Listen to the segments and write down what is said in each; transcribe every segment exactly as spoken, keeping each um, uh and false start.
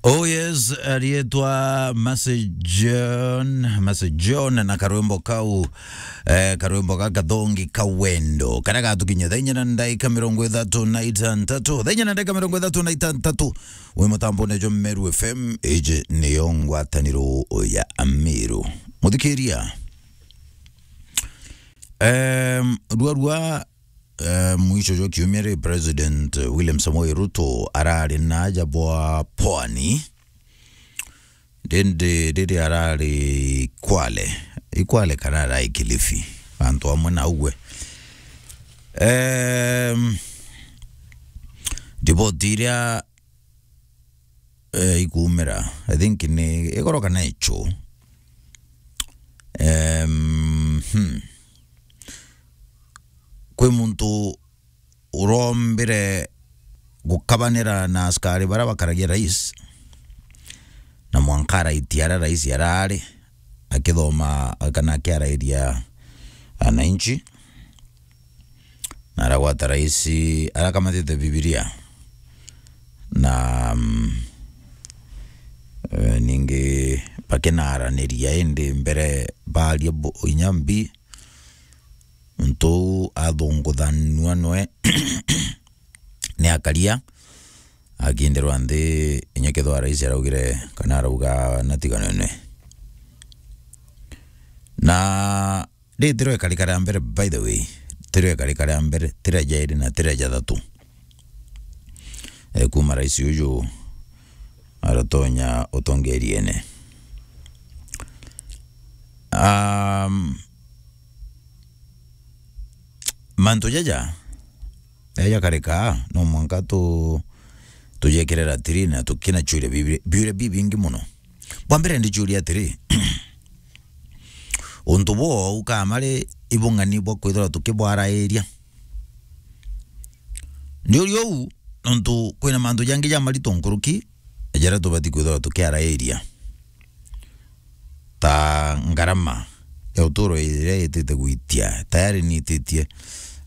Oh yes, arietwa Mercy John, Mercy John na karwimbo kau, eh, karwimbo ga kathongi ka wendo. Karia gatukinya thaa inya na ndaika mirongo ithatu na itantatu. Thaa inya na ndaika mirongo ithatu na itantatu. Wi mutambone jwa Meru F M, iji niyo ngwataniro ya Amiru. Muthikiria. Em, rua rua, eh, mwisho jwa kiumia ri, President William Samoei Ruto arari na aja bwa Pwani. Ndindi riri arari Kwale. I Kwale kana arari Kilifi. Antu amwe na ugwe. Em, riboti iria, eh, ikumira, I think ni igoro kana ichu. Em, hmm. Kwi muntu urombire gukabanira na askari baria bakaragia rais, na mwanka araitia aria rais arari akithoma kana akiarairia ananchi, na aragwata rais arakamatite Bibilia, na, mm, eh, ningi bakinaraniria indi mbere baria bo-, inya mbi, muntu uu athunguthanua nwe ni akaria, akindirwa nthi, inya kethirwa rais araugire kana arauga natiganene. Na ri tirio ikarika ria mbere, by the way, tirio ikarika ria mbere, tiria jairi na tiria jathatu, eh, kuma rais uju aratonya utongeriene. Um, mantu jaja, jaja karika, no mwanka tu-, tujekire ratiri na tukinachuria biuria, biuria bibingi muno. Bwa mbere ndichuria atiri, untu buu ukamari ibung'ani bwa kwithirwa tukibwarairia? Ndiuria uu, nontu kwina mantu jangi jamarito nkuruki jaria tubati kwithirwa tukiarairia, ta ngarama ya uturo iria itite gwitia, tayari ni ititie,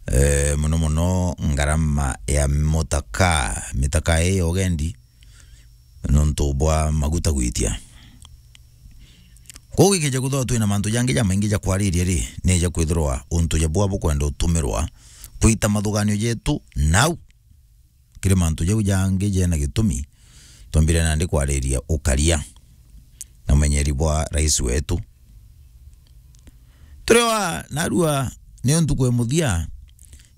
eh, muno muno ngarama ya mutaka, mitaka ii ya ugendi, nontu bwa maguta gwitia. Kwou gikija kwithirwa twina mantu jangi jamaingi ja kwariria ri, ni ja kwithirwa untu jabua bukwenda utumirwa kwita mathuganio jetu nau. Kiri mantu jau jangi jena gitumi, twambire nandi kwariria ukaria na umenyeri bwa rais wetu. Turewa narua niyo ntuku ya muthia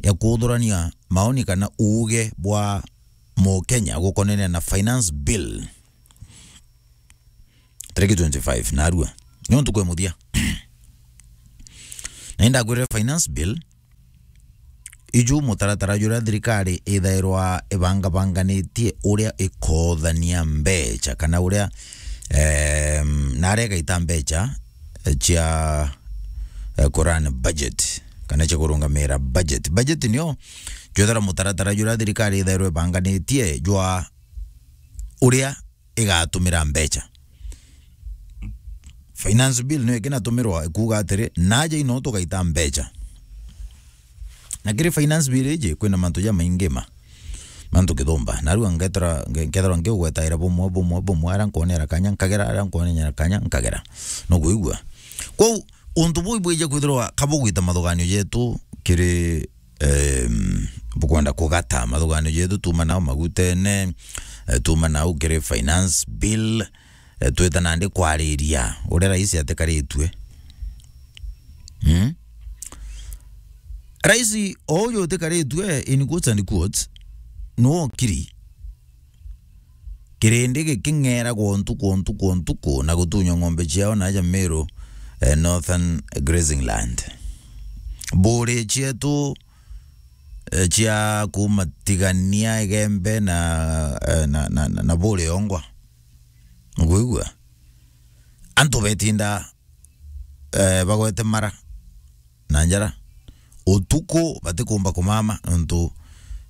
ya kuthurania maoni kana uuge bwa Mukenya gukonania na finance bill tariki twenty-five narua. Niyo ntuku ya muthia. Na indakwirire finance bill, iju mutaratara juria thirikari ithairwa ibangabanganitie uria ikothania mbecha, kana uria, em, naria igaita mbecha, eh, cia, eh, kuran budget, kana cia kurungamira budget. Budget niyo jwethera mutaratara juria thirikari ithairwa ibanganitie jwa uria igatumira mbecha. Finance bill niyo ikinatumirwa ikuuga atiri, naja ino tugaita mbecha. Na kiri finance bill iji, kwina mantu jamaingi ma, mantu kithumba. Narua ngethira, nge-, nkethirwa ngiugwetaira bumwe, bumwe, bumwe, aria nkwonera kanya nkagera, aria nkwonera kanya nkagera. Nukwigua? Kwou, untu buu ibwija kwithirwa kabugwita mathuganio jetu kiri, em, bukwenda kugata mathuganio jetu, tuma nau magutene, eh, tuma nau kiri finance bill, eh, twita nandi kwariria uria rais atikaritue. Hmm? Rais o uju utikaritue, in quotes and quotes, nuokiri kirindi giking'eragwa ntuku, ntuku, ntuku, na gutunywa ng'ombe ciao na aja Meru, eh, Northern Grazing Land. Mburi cietu, eh, cia kuma Tigania, Igembe na, eh, na, na, na, na Buri Ongwa. Nukwigua? Antu betinda, eh, bagwete mara na njara. Utuku batikumba kumama nontu,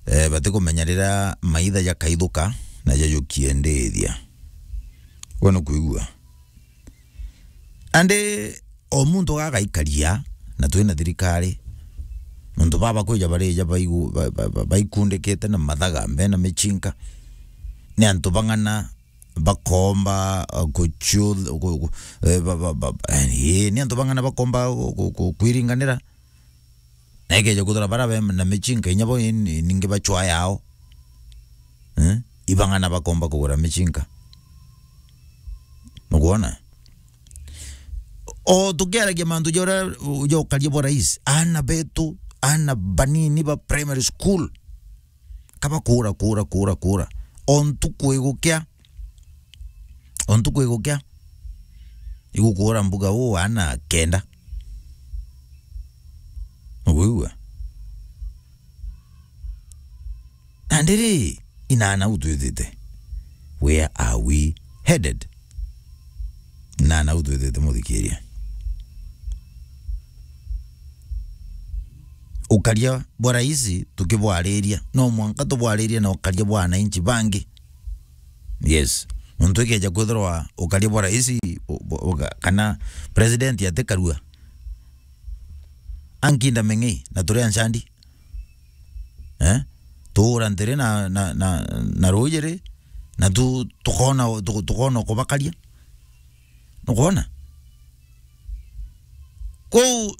eh, batikumenya riria maitha jakaithuka na jajukie ndithia. Gwe nukwigua? Andi o muntu gagaikaria, na twina thirikari, nontu baba kwija barija baigu-, ba-, ba-, ba-, baikundikite na mathaga, bena michinka, ni antu bang'ana bakomba, uh, kuchu-, ku-, ku-, eh, ba, ba, ba, eh, ni antu bang'ana bakomba ku-, ku-, ku-, kwiringanira. Na ikeja kwithirwa bara be na michinka, inya bo in-, ningi bachwa yao. Eh? Ibang'ana bakomba kugura michinka. Nukwona? O tukiaragia mantu ja uria, ja ukaria bwa rais, aana betu, aana banini ba primary school, kaba kura, kura, kura, kura. O ntuku igukia, o ntuku igukia, igukura mbuga uu aana kenda. Ugwigua? Na ndiri, inaana u twithite. Where are we headed? Inaana u twithite, muthikiria. Ukaria bwa rais tukibwariria, no mwanka tubwaririe na ukaria bwa wananchi bangi. Yes. Nontu ikeja kwithirwa ukaria bwa rais, u-, u-, uga-, kana president atikarua, ankinda meng'ei na turi anchandi. Eh? Tuura ntiri na, na, na, na ruuji ri, na tu-, tukona, tu-, tukona kubakaria. Nukwona? Kou,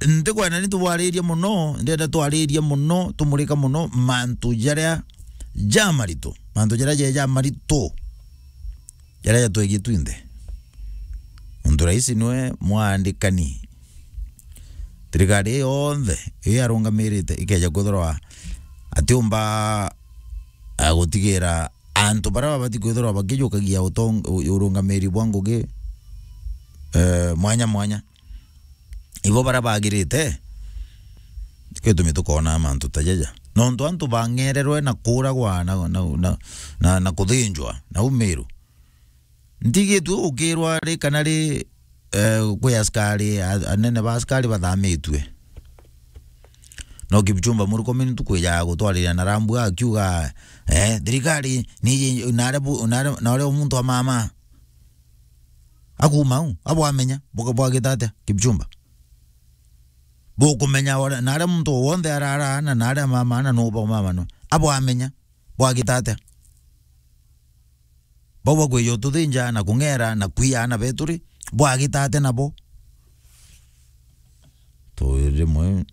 ntikwenda ni tubwaririe mono, ndenda twaririe mono, tumurika mono mantu jaria jamaritu, mantu jaria je jamaritu, jaria jatwegie twinthe. Nontu rais niwe mwandikani. Thirikari ii yonthe ii arungamirite ikeja kwithirwa atiumba, ah, gutigira antu baria babati kwithirwa bakijukagia utong-, u-, urungamiri bwa ngugi, eh, mwanya mwanya. Ibo baria bagirite, gitumi tukona mantu ta jaja. Nontu antu bang'ererwe na kuragwa na, na, na, na, na kuthinjwa na umiru. Ntigitue ukirwa ri kana ri, eh, kwi askari, a-, anene ba askari bathamitue. No Kipchumba Murkomen ntuku ijaga gutwariria na rambu akiuga, eh, thirikari ni nare bu-, nare, nare muntu wa mama. Akuma u, abwamenya, buka-, bwagita atia, Kipchumba? Bukumenya ore-, nare muntu wonthe arara na nare mama na nuba mama no. Abwamenya, bwagita atia? Bau bakwija ututhinja na kung'era na kwia aana betu ri, bwagita atia nabo? Tu rimwe